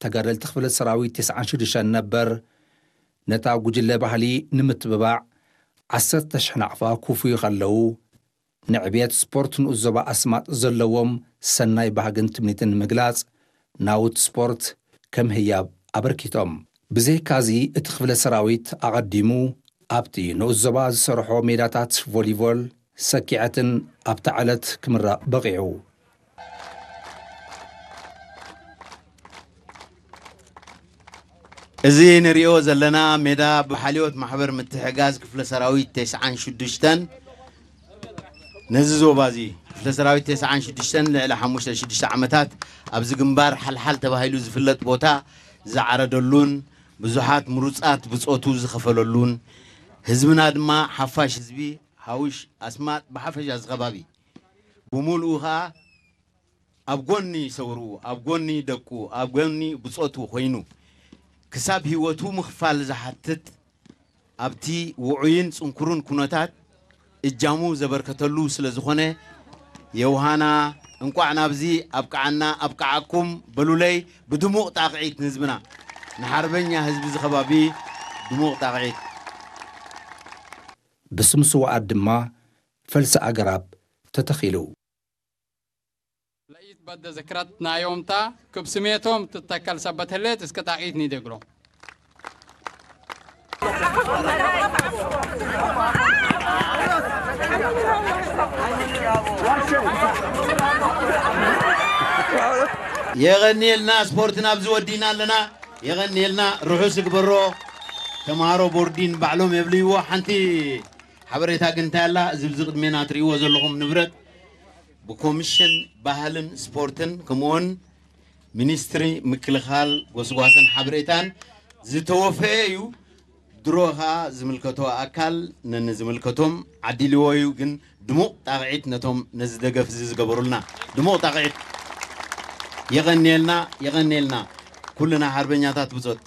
ተጋደልቲ ክፍለ ሰራዊት ተስዓን ሽዱሽተን ነበር፣ ነታ ጉጅለ ባህሊ ንምትብባዕ ዓሰርተ ሽሕ ናቕፋ ክውፍዩ ከለዉ፣ ንዕብየት ስፖርት ንኡስ ዞባ ኣስማጥ ዘለዎም ሰናይ ባህግን ትምኒትን ንምግላጽ፣ ናውቲ ስፖርት ከም ህያብ ኣበርኪቶም። ብዘይካዚ፣ እቲ ክፍለ ሰራዊት ኣቐዲሙ ኣብቲ ንኡስ ዞባ ዝሰርሖ ሜዳታት ቮሊቮል፣ ሰኪዐትን ኣብታ ዕለት ክምረቕ በቒዑ። እዚ ንሪኦ ዘለና ሜዳ ብሓልዮት ማሕበር ምትሕጋዝ ክፍለ ሰራዊት ተስዓን ሽዱሽተን ነዚ ዞባ እዚ፣ ክፍለ ሰራዊት ተስዓን ሽዱሽተን ልዕሊ ሓሙሽተ ሽዱሽተ ዓመታት ኣብዚ ግንባር ሓልሓል ተባሂሉ ዝፍለጥ ቦታ ዝዓረደሉን ብዙሓት ምሩፃት ብፆቱ ዝኸፈለሉን፣ ህዝብና ድማ ሓፋሽ ህዝቢ ሃውሽ ኣስማጥ ብሓፈሻ እዚ ከባቢ ብምሉኡ ኸዓ ኣብ ጎኒ ሰውርኡ፣ ኣብ ጎኒ ደቁ፣ ኣብ ጎኒ ብጾቱ ኮይኑ ክሳብ ህይወቱ ምኽፋል ዝሓትት ኣብቲ ውዑይን ጽንኩርን ኩነታት እጃሙ ዘበርከተሉ ስለ ዝኾነ፣ የውሃና እንቋዕ ናብዚ ኣብቅዓና ኣብቅዓኩም በሉለይ። ብድሙቕ ጣቕዒት ንህዝብና፣ ንሓርበኛ ህዝቢ እዚ ከባቢ ድሙቕ ጣቕዒት። ብስም ስውኣት ድማ ፈልሲ ኣግራብ ተተኺሉ። ለይት በደ ዝክረት ናዮምታ ክብ ስሜቶም ትተከል ሰበት ህሌት እስከ ጣቂት ኒደግሎ። የቐንየልና። ስፖርትና ኣብዚ ወዲና ኣለና። የቐንየልና። ርሑስ ይግበሮ። ተምሃሮ ቦርዲን ባዕሎም የብልይዎ። ሓንቲ ሓበሬታ ግን እንታይ ኣላ? እዚ ብዚ ቅድሜና ትርእይዎ ዘለኹም ንብረት ብኮሚሽን ባህልን ስፖርትን ከምኡውን ሚኒስትሪ ምክልኻል ጎስጓስን ሓበሬታን ዝተወፈየ እዩ። ድሮ ኸዓ ዝምልከቶ ኣካል ነንዝምልከቶም ዓዲልዎ እዩ። ግን ድሙቕ ጣቕዒት ነቶም ነዚ ደገፍ እዚ ዝገበሩልና ድሙቕ ጣቕዒት። የቐንየልና፣ የቐንየልና። ኩልና ሓርበኛታት ብጾት።